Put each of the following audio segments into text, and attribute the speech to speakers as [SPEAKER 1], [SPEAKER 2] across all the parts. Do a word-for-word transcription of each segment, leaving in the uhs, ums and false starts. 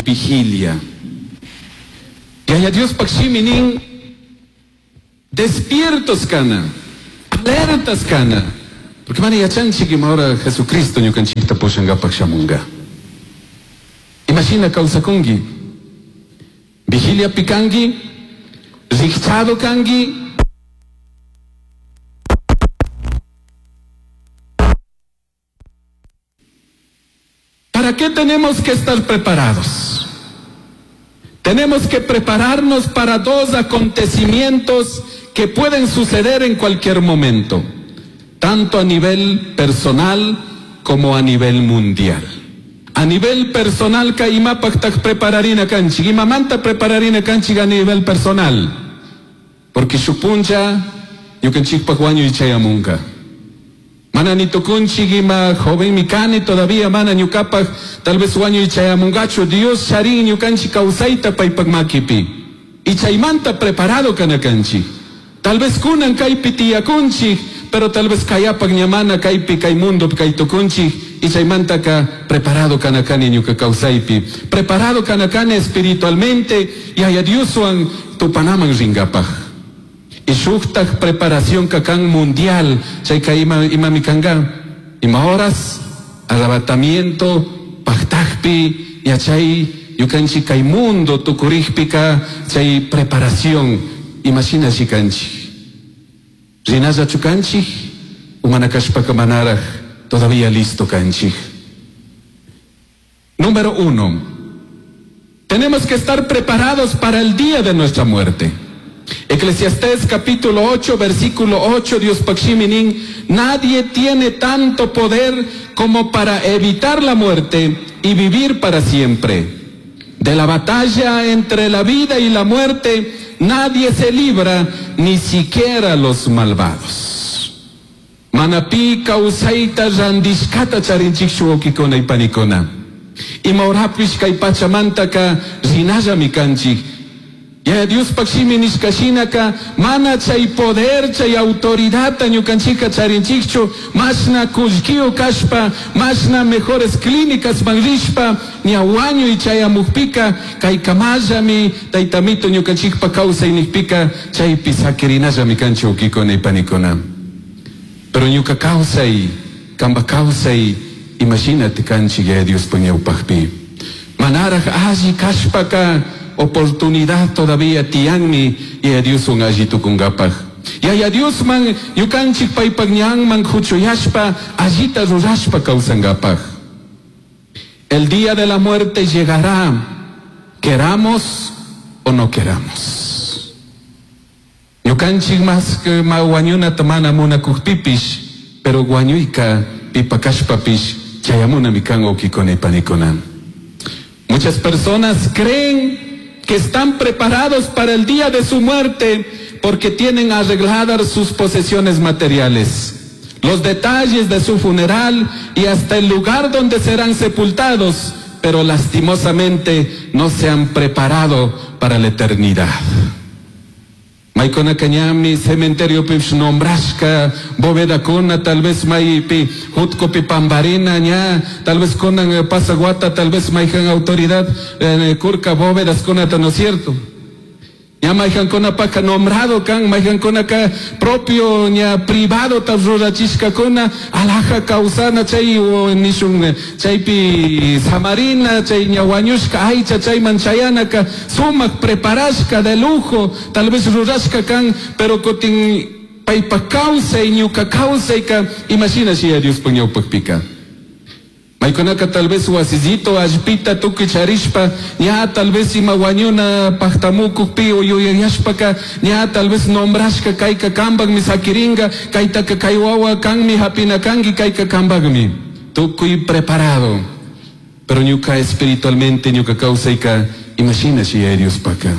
[SPEAKER 1] Vigilia. Yaya Diospaj shimi nin despiertos kana, alertas kana. Porque mana yachanchik ima hora Jesucristo ñukanchikta pushankapak shamunga. Imashina kawsakunki? Vigiliapi kanki, rikchado kanki. ¿Para qué tenemos que estar preparados? Tenemos que prepararnos para dos acontecimientos que pueden suceder en cualquier momento, tanto a nivel personal como a nivel mundial. A nivel personal ka imapaq taq prepararina kanchik, imamanta prepararina kanchik a nivel personal. Porque shuk puncha ñukanchikpaq wañuy chayamunka. Mana ni tukunchik ima jovenmi kani todavía mana ñukapaq tal vez wañuy chayamungachu. Dios charin ñukanchik kawsayta paypaq makipi. Y chaymanta preparado kana kanchik. Tal vez kunan kaypi tiyakunchik, pero tal vez kayapaq ña mana kaypi kay mundopi kay tukunchik. Y chaymantaka preparado kana kani ñuka kawsaypi. Preparado kana kani espiritualmente Yaya Dioswan tupanaman ringapaq. Y shuktaj preparación kakan mundial, chayka ima, imami kanga, ima horas, arrebatamiento, paktajpi, yachay, ñukanchik kay mundo tukurikpika, chay preparación, imashina shikanchik. Rinalla chukanchik, umana kashpaka manaraj, todavía listo kanchik. Número uno, tenemos que estar preparados para el día de nuestra muerte. Eclesiastés capítulo ocho, versículo ocho, Dios Pakshiminin, nadie tiene tanto poder como para evitar la muerte y vivir para siempre. De la batalla entre la vida y la muerte, nadie se libra, ni siquiera los malvados. Manapi kawsayta randishkata charinchik shuwakikuna y panikuna. Ima horapish kay pachamantaka rinallami kanchik. Ya Dios pakshimi nishkashinaka mana chay poder chay autoridad ñukanchika charinchikchu mashna kullkiyo kashpa mashna mejores clínicas manrishpa ña wañuy chayamukpika kay kamallami taytamito ñukanchikpa kawsay nikpika chaypi sakirinallami kanchik ukikuna y panikuna. Pero ñuka kawsay kamba kawsay imagínate kanchik ya Dios ñawpaqpi. Manaraj alli kashpaka oportunidad todavía tianmi y a Dios un allí tucungapaj. Y a Dios man yukanchik paypak ñanman huchuyashpa allita rurashpa kawsangapaj. El día de la muerte llegará, queramos o no queramos. Ñukanchik más que ma wañunata mana munakujpipish, pero wañuyka pipakashpapish chayamuna mikan ukikuna y panikuna. Muchas personas creen que están preparados para el día de su muerte porque tienen arregladas sus posesiones materiales, los detalles de su funeral y hasta el lugar donde serán sepultados, pero lastimosamente no se han preparado para la eternidad. Maykuna kañami cementerio pish nombrashka bóveda kuna tal vez maypi jutkopi pambarina ña tal vez kunan pasaguata tal vez mayjan autoridad eh, kurka bóvedas kunata, ¿no es cierto? Ña mayjan kuna paka nombrado kan mayjan kuna ka propio ña privado ta rurachishka kuna alhaja kawsana chay nishun chaypi samarina chay ña wañushka aycha chayman chayanaka sumak preparashka de lujo tal vez rurashka kan pero kutin paypa kawsay ñuka kawsayka imashina shi Diospaq ñawpaqpika. Maykunaka tal vez wasillito allpita tukuy charishpa ña tal vez ima wañuna pajtamukukpi o yuyayashpaka ña tal vez nombrashka kayka kambakmi sakiringa kaytaka kay wawa kanmi hapina kanki kayka kambakmi tukuy preparado pero ñuka espiritualmente ñuka kawsayka imashina shi Diospaka.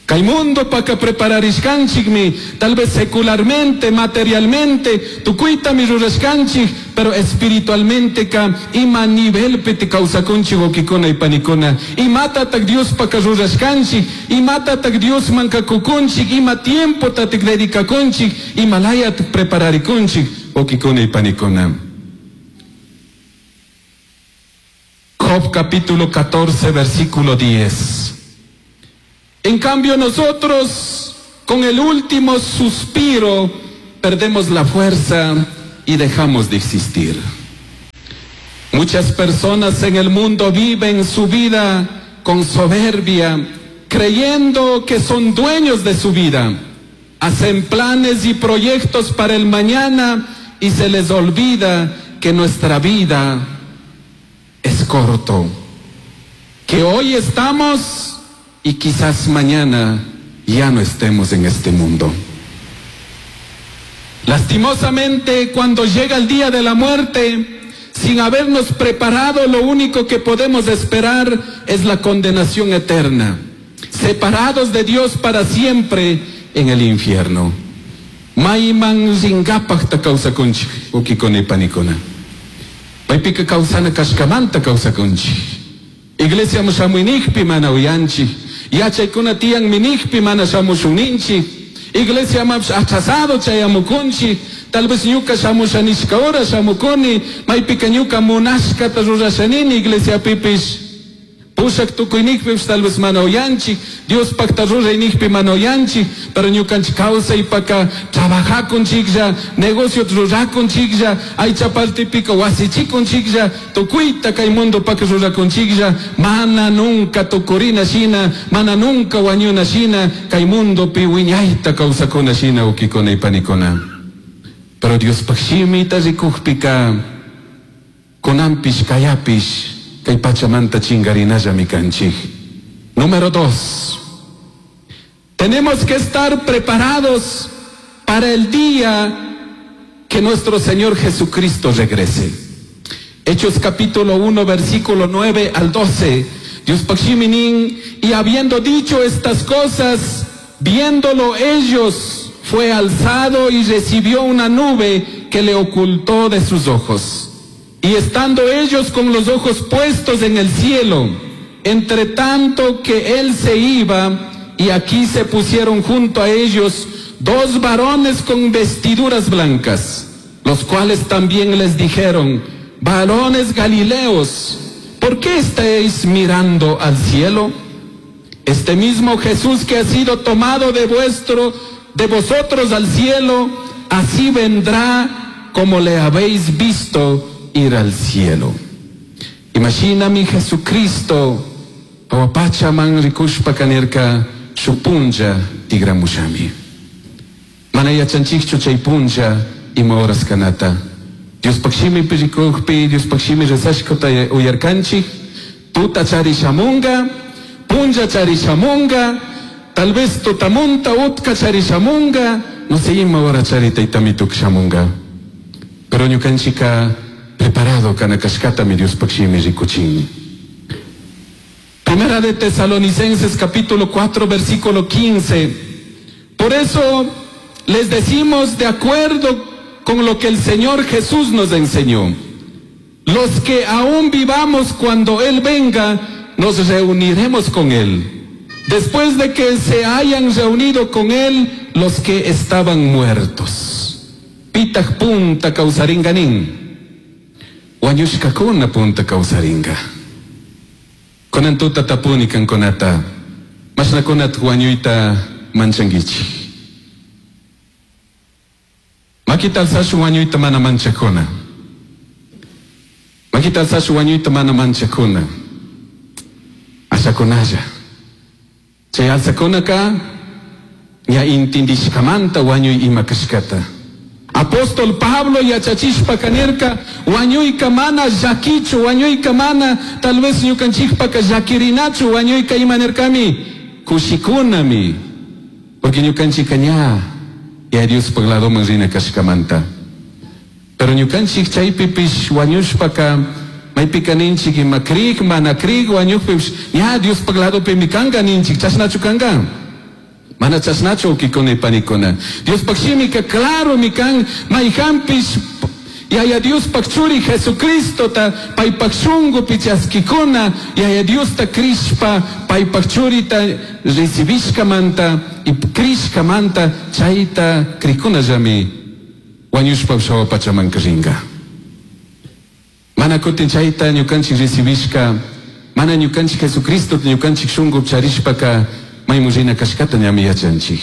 [SPEAKER 1] Kay mundo paka prepararishkanchikmi, tal vez secularmente, materialmente, tukuytami rurashkanchik, pero espiritualmente ka ima nivelpi te kawsakunchik ukikuna y panikuna. Imatatak Dios paka rurashkanchik, imatatak Dios mankakukunchik, ima tiempo tatik dedicakunchik, imalayat prepararikunchik, ukikuna y panikuna. Job capítulo catorce, versículo diez. En cambio nosotros, con el último suspiro, perdemos la fuerza y dejamos de existir. Muchas personas en el mundo viven su vida con soberbia, creyendo que son dueños de su vida. Hacen planes y proyectos para el mañana y se les olvida que nuestra vida es corto, que hoy estamos y quizás mañana ya no estemos en este mundo. Lastimosamente, cuando llega el día de la muerte, sin habernos preparado, lo único que podemos esperar es la condenación eterna, separados de Dios para siempre en el infierno. Mayman ringapaj kawsakunchik, wawkikuna y panikuna. Maypika kawsana kashkamanta kawsakunchik. Iglesia shamuynijpi mana uyanchik. Yachaykuna tiyan minijpi mana shamushunninchik. Iglesia mapish atrasado chayamukunchik. Tal vez ñuka shamusha nishka hora shamukuni, maypika ñuka munashkata rurashanini iglesia pipish. Pushak tukuynikpipish tal vez mana uyanchik, Dios pakta ruraynikpi mana uyanchik, pero ñukanchik kawsaypaka trabajakunchiklla, negocio rurakunchiklla, aycha partipika wasichikunchiklla, tukuyta kay mundopaka rurakunchiklla, mana nunca tukurina shina, mana nunca wañuna shina, kay mundopi wiñayta kawsakuna shina wawkikuna y panikuna. Pero Dios shimita rikukpika, kunanpish kayapish, kay pachamanta chingarinallami kanchik. Número dos, tenemos que estar preparados para el día que nuestro Señor Jesucristo regrese. Hechos capítulo uno, versículo nueve al doce. Dios pakshiminin, y habiendo dicho estas cosas, viéndolo ellos, fue alzado y recibió una nube que le ocultó de sus ojos. Y estando ellos con los ojos puestos en el cielo, entre tanto que él se iba, y aquí se pusieron junto a ellos dos varones con vestiduras blancas, los cuales también les dijeron: varones galileos, ¿por qué estáis mirando al cielo? Este mismo Jesús que ha sido tomado de vuestro, de vosotros al cielo, así vendrá como le habéis visto ir al cielo. Imagina mi Jesucristo, awapacha man rikushpa kanirka shupunja tigramushami. Mana yachanchikchu chay punlla ima horas kanata. Dios pakshimi pirikukpi, Dios pakshimi rezashkota uyarkanchik, tuta chari shamunga, punlla chari shamunga, tal vez tutamunta utka chari shamunga, no sé ima hora chari taytamituk shamunga. Pero ñukanchika preparado kana kashkata mi Dios pakshimi rikuchin. Primera de Tesalonicenses capítulo cuatro versículo quince. Por eso les decimos de acuerdo con lo que el Señor Jesús nos enseñó: los que aún vivamos cuando Él venga, nos reuniremos con Él, después de que se hayan reunido con Él los que estaban muertos. Pitag punta kawsaringanin, wañushkakuna punta kawsaringa. Kunan tuta tapuni kankunata, mashnakunat wañuyta manchankichik. Makita alsashu wañuyta mana manchakuna. Makita alsashu wañuyta mana manchakuna. Ashakunalla. Chay alsakunaka ña intindishkamanta wañuy ima kashkata. Apóstol Pablo yachachishpa kanirka, wañuyka mana llakichu, wañuyka mana, tal vez ñukanchikpaka llakirinachu, wañuyka ima nirkami, kushikunami. Porque ñukanchika ña, ya Diospaj ladoman rina kashkamanta. Pero ñukanchik chaypipish wañushpaka, maypika ninchik ima krik, mana krik, wañukpipish, ña Diospaj ladopimi kanka ninchik, chashnachu kanka. Mana chashnachu wawkikuna y panikuna. Diospaj shimika claro mi kan, mayhanpish Yaya Diospaj churi Jesucristota paypaj shungupi chaskikuna, Yaya Diosta krishpa paypaj churita recibishkamanta y krishkamanta chayta krikunallami wañushpa shawa pachamanka ringa. Mana kutin chayta ñukanchik recibishka, mana ñukanchik Jesucristo ñukanchik shunku charishpaka maymun rina kashkata ñami yachanchik.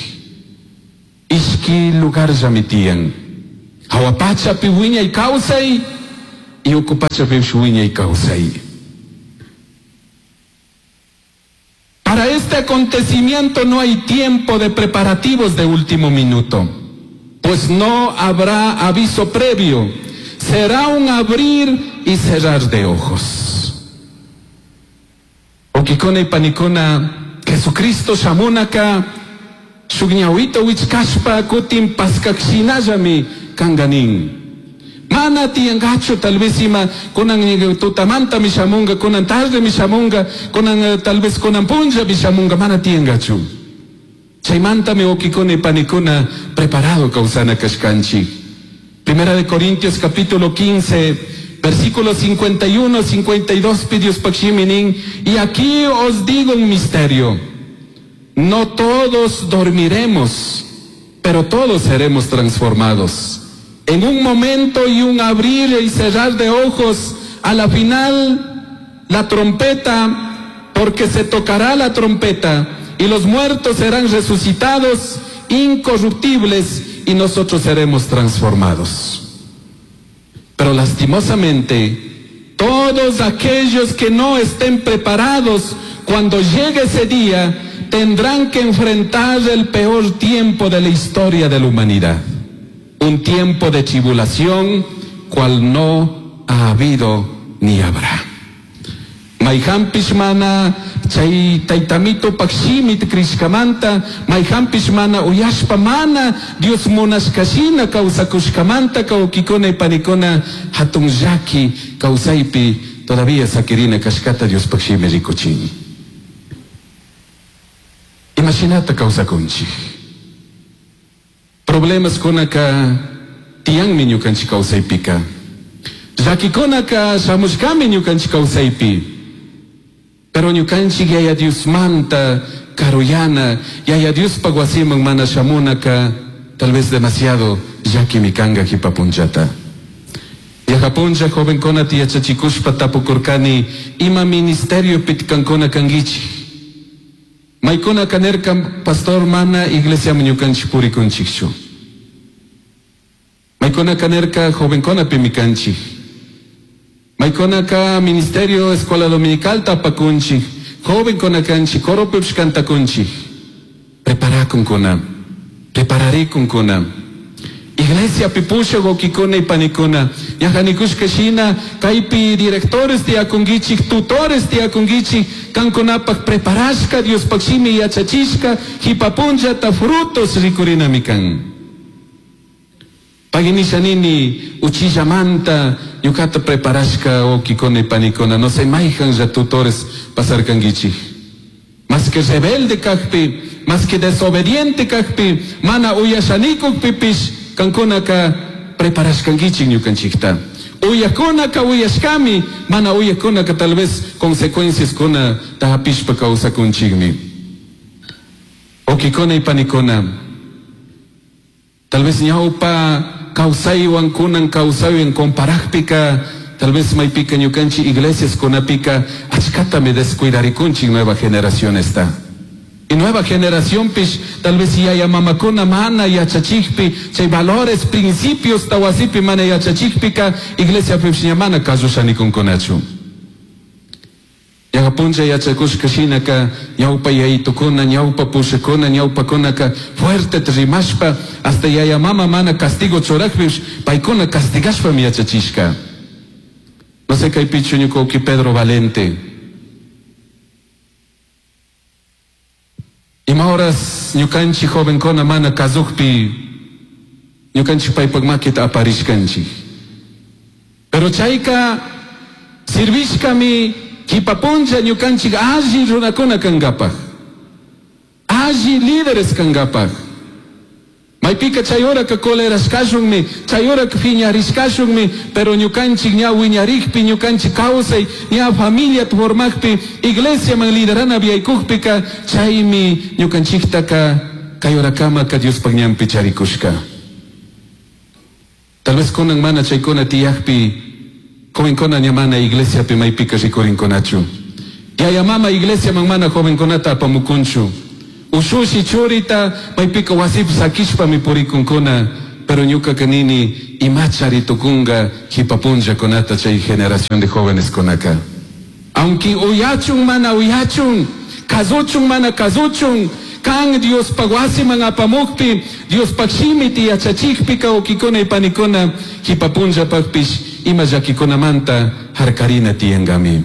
[SPEAKER 1] Ishki lugarllami tiyan. Hawa pachapi wiñay kawsay y uku pachapipish wiñay kawsay. Para este acontecimiento no hay tiempo de preparativos de último minuto, pues no habrá aviso previo. Será un abrir y cerrar de ojos. Wawkikuna y panikuna, Jesucristo shamunaka, shuk ñawita wichkashpa kutin paskakshinallami kanganin. Mana tiyangachu tal vez ima kunan tutamanta mi shamunga, kunan tarde mi shamunga, kunan tal vez kunan punlla mi shamunga, mana tiyangachu. Chaymanta mi wawkikuna y panikuna preparado kawsana kashkanchik. Primera de Corintios capítulo quince, versículos cincuenta y uno, cincuenta y dos, Dios pakshiminin, y aquí os digo un misterio. No todos dormiremos, pero todos seremos transformados. En un momento y un abrir y cerrar de ojos, a la final la trompeta, porque se tocará la trompeta, y los muertos serán resucitados, incorruptibles, y nosotros seremos transformados. Pero lastimosamente, todos aquellos que no estén preparados cuando llegue ese día, tendrán que enfrentar el peor tiempo de la historia de la humanidad. Un tiempo de tribulación, cual no ha habido ni habrá. Mayhampish mana chay taytamito pakshimit krishkamanta, mayhampish mana uyashpa mana Dios munashkashina kawsakushkamanta kawkikuna y panikuna hatun llaki kawsaypi todavía sakirina kashkata Dios pakshimi rikuchin. Imashinata kawsakunchik. Problemas kunaka tiyanmi ñukanchik kawsaypika. Llakikunaka shamushkami ñukanchik kawsaypi. Pero ñukanchik yaya Diosmanta karuyana, yaya Diospaq wasiman mana shamunaka, tal vez demasiado llakimi kanga jipapunchata. Yajapuncha jovenkuna tiyachachikushpa tapukurkani, ima ministerio pitkankuna kankichik. Maykuna kanerka pastor mana iglesia ñukanchik purikunchikchu. Maykuna kanerka jovenkuna pimikanchik. Maykunaka ministerio escuela dominical tapakunchik, joven konakanchik, coro kantakunchik. Preparakunkuna, prepararikunkuna. Iglesia pipusha gokikuna y panikuna. Yajanikushka shina, kaypi directores tiyakunkichik, tutores tiyakunkichik, kankunapak preparashka, Diospaq shimi yachachishka, hipapunllata frutos rikurinami kan. Paginisha nini, uchillamanta, ñukata preparashka wawkikuna y panikuna, no sé, mayhan ya tutores pasarkankichik. Más que rebelde kakpi, más que desobediente kakpi, mana uyashanikukpipish, kankunaka preparashkankichik ñukanchikta. Uyakunaka uyashkami, mana uyakunaka tal vez consecuencias kuna tahapishpa kawsakunchikmi. Wawkikuna y panikuna, tal vez ñawpa kawsaywan kunan kawsaywan comparajpika, tal vez maypika ñukanchik iglesias kunapika achkatami descuidarikunchik nueva generación esta. Y nueva generación pish, tal vez yaya mamakuna mana yachachikpi, chay valores, principios tawasipi mana yachachikpika, iglesia pish ña mana kasushanikunkunachu. Yajapuncha yachakushka shinaka, ñawpa yayitukuna, ñawpa pushakuna, ñawpakunaka, fuerte rimashpa, hasta yaya mama mana castigo churakpish, paykuna castigashpami yachachishka. No sé kaypichu ñuka Pedro Valente. Ima horas ñukanchik jovenkuna mana kasukpi, ñukanchik paypak makita aparishkanchik. Pero chayka sirvishkami kipapuncha ñukanchik alli runakuna kankapaj, alli líderes kankapaj. Maypika chay horaka colerashkashunmi, chay horaka piñarishkashunmi, pero ñukanchik ña wiñarikpi, ñukanchik kawsay, ña familia formajpi, iglesiaman liderana viaykukpika, chaymi ñukanchiktaka kay horakamaka Diospaq ñanpi charikushka. Tal vez kunan mana chaykuna tiyakpi, Jovencuna ña mana iglesiapi maypika rikurinkunachu. Yaya mama iglesiaman mana jovenkunata apamukunchu. Ushushi churita maypika wasipi sakishpami purikunkuna. Pero ñukaka nini imachari tukunga jipa punllakunata chay generación de jóvenes kunaka. Aunque uyachun mana uyachun, kazuchun mana kazuchun, kan Diospaj wasiman apamukpi, Diospaj shimita yachachikpika wawkikuna y panikuna jipa punllapakpish ima llakikunamanta harkarina tiyankami.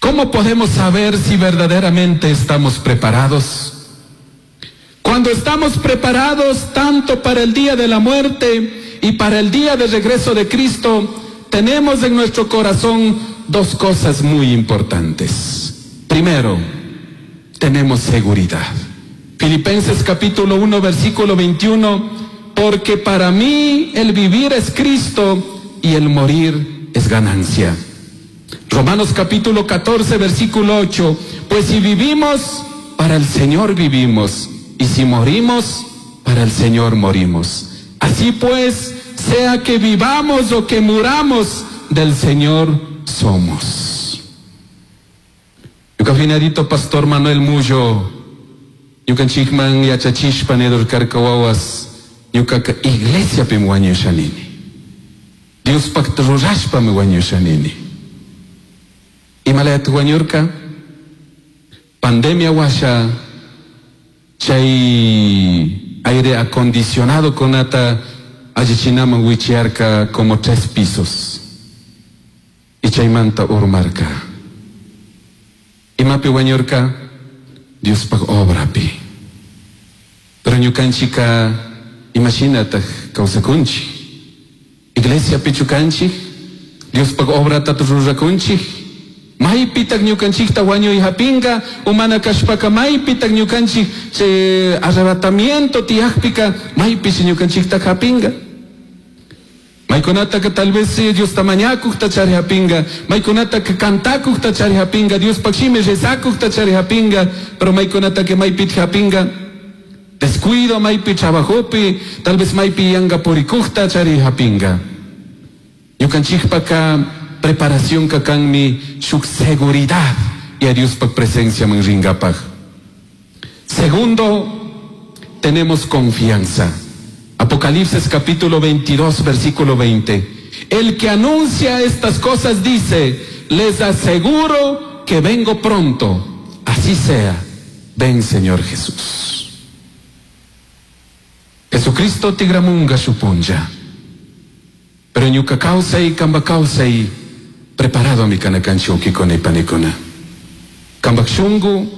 [SPEAKER 1] ¿Cómo podemos saber si verdaderamente estamos preparados? Cuando estamos preparados tanto para el día de la muerte y para el día de regreso de Cristo, tenemos en nuestro corazón dos cosas muy importantes. Primero, tenemos seguridad. Filipenses capítulo uno, versículo veintiuno, porque para mí el vivir es Cristo y el morir es ganancia. Romanos capítulo catorce, versículo ocho, pues si vivimos, para el Señor vivimos, y si morimos, para el Señor morimos. Así pues, sea que vivamos o que muramos, del Señor somos. Ñuka Pastor Manuel Mullo, ñukanchikman yachachishpa nidurkarka wawas, ñukaka iglesiapimi wañushanini. Diospakta rurashpami wañushanini. Imalayata wañurka? Pandemia washa, chay aire acondicionado kunata allichinaman wichiarka como tres pisos. Y chaymanta urmarka. Imapi wañurka? Diospaj obrapi. Pero ñukanchika imashinataj kawsakunchik. Iglesia pichukanchik, Diospaj obrata rurakunchik. Maypitaq ñukanchikta wañuy hapinka, umana kashpaka maypitaq ñukanchik chay arrebatamiento tiyaqpika maypish ñukanchikta hapinka. Maykunataka tal vez Diosta mañakuqta chari hapinka, maykunataka kantakuqta chari hapinka, Diospaq shimi rezakuqta chari hapinka, pero maykunataka maypit hapinka. Descuido maypi trabajopi, tal vez maypi yanka purikuqta chari hapinka. Ñukanchikpaka preparación kanmi shuk seguridad y a Diospaq presencia man ringapaj. Segundo, tenemos confianza. Apocalipsis capítulo veintidós, versículo veinte. El que anuncia estas cosas dice, les aseguro que vengo pronto. Así sea. Ven, Señor Jesús. Jesucristo tigramunga shupunlla. Pero ñuka kawsay, kamba kawsay, preparado mi kanakanchi ukikuna y panikuna. Kambak shungu,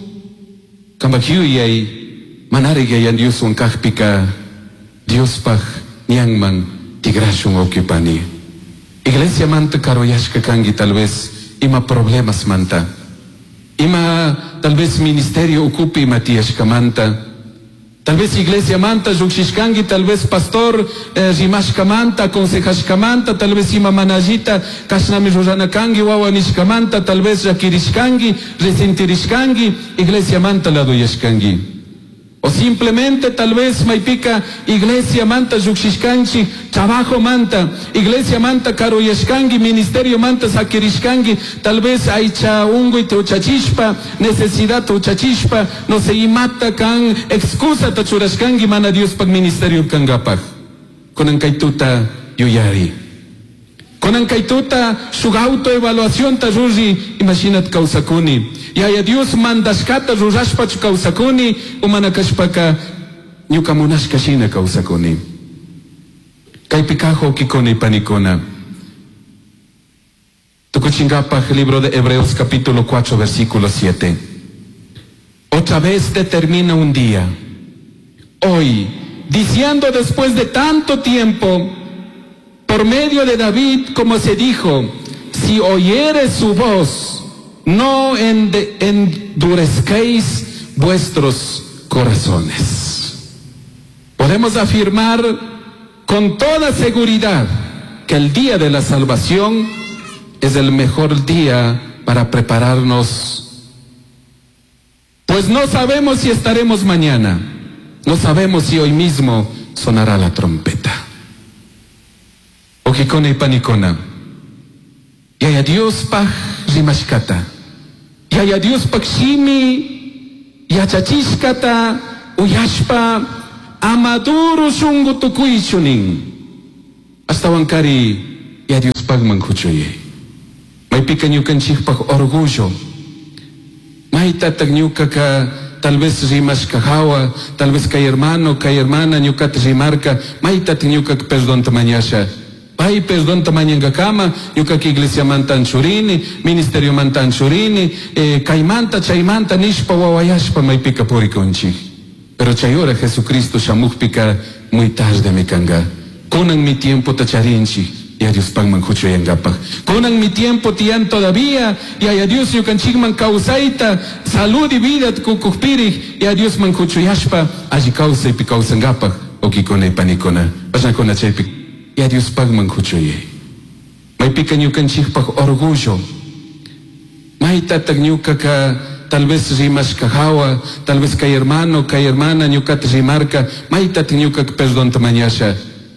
[SPEAKER 1] kambak yuyay, manari yayan Dioswan kajpika, Diospaj ñanman tigrashun ukipani. Iglesia manta karoyashka kangi tal vez, ima problemas manta. Ima tal vez ministerio ukupi ima tiyashka manta. Tal vez iglesia manta llukshishkangi, tal vez pastor eh, rimashka manta, aconsejashka manta, tal vez ima manallita kashnami rurana kangi, wawa nishka manta, tal vez llakirishkangi, resentirishkangi, iglesia manta laduyashkangi. O simplemente tal vez maypika iglesia manta llukshishkanchi, trabajo manta, iglesia manta karuyashkangi, ministerio manta sakirishkangi, tal vez aycha unguy uchachishpa, necesidad uchachishpa, no sé imata kan excusa ta churashkangi mana Diospaq ministerio kangapaj. Kunan kaytuta yuyari. Kunan kaytuta shuk autoevaluación ta ruri, imashinat kawsakuni. Yaya Dios mandashkata rurashpachu kawsakuni, umana kashpaka ñuka munashka shina kawsakuni. Kaypi kaj wawkikuna y panikuna. Tukuchinkapaj libro de Hebreos capítulo cuatro versículo siete. Otra vez determina un día, hoy, diciendo después de tanto tiempo, por medio de David, como se dijo, si oyeres su voz, no endurezcáis vuestros corazones. Podemos afirmar con toda seguridad que el día de la salvación es el mejor día para prepararnos, pues no sabemos si estaremos mañana, no sabemos si hoy mismo sonará la trompeta. Wawkikuna y panikuna. Yaya Diospaj rimashkata. Yaya Diospaj shimi yachachishkata uyashpa ama duro shungu tukuychu nin. Ashtawankari ya Diospajman kuchuyay. Maypika ñukanchikpaj orgullo. Maytatak ñukaka tal vez rimashka hawa, tal vez kay hermano, kay hermana ñukata rimarka, maytatak ñukaka perdonta mañasha. Pay perdonta mañankakama, ñukaka iglesiamanta anchurini, ministeriomanta anchurini, eh, kaymanta chaymanta nishpa wawayashpa maypika purikunchik. Pero chay hora Jesucristo shamukpika muy tardemi kanka. Kunan mi tiempota charinchik. Ya Diospajman kuchuyankapaj. Kunan mi tiempo tiyan todavía, ya Dios ñukanchikman kawsayta, salud y vida kukukpirik, ya Diosman kuchuyashpa, alli kawsaypi kawsankapaj, wawkikuna y panikuna. Pashnakuna chaypi, ya Diospajman kuchuyay. Maypika ñukanchikpaj orgullo. Maytatak ñukaka tal vez rimashka hawa, tal vez kay hermano, kay hermana ñukata rimarka, maytatak ñukaka perdonta mañasha.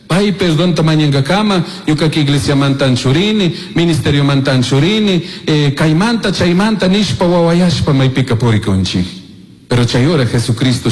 [SPEAKER 1] Pay perdonta mañankakama, ñukaka iglesiamanta anchurini, ministeriomanta anchurini, eh, kaymanta chaymanta nishpa wawayashpa maypika purikunchik. Pero chay hora Jesucristo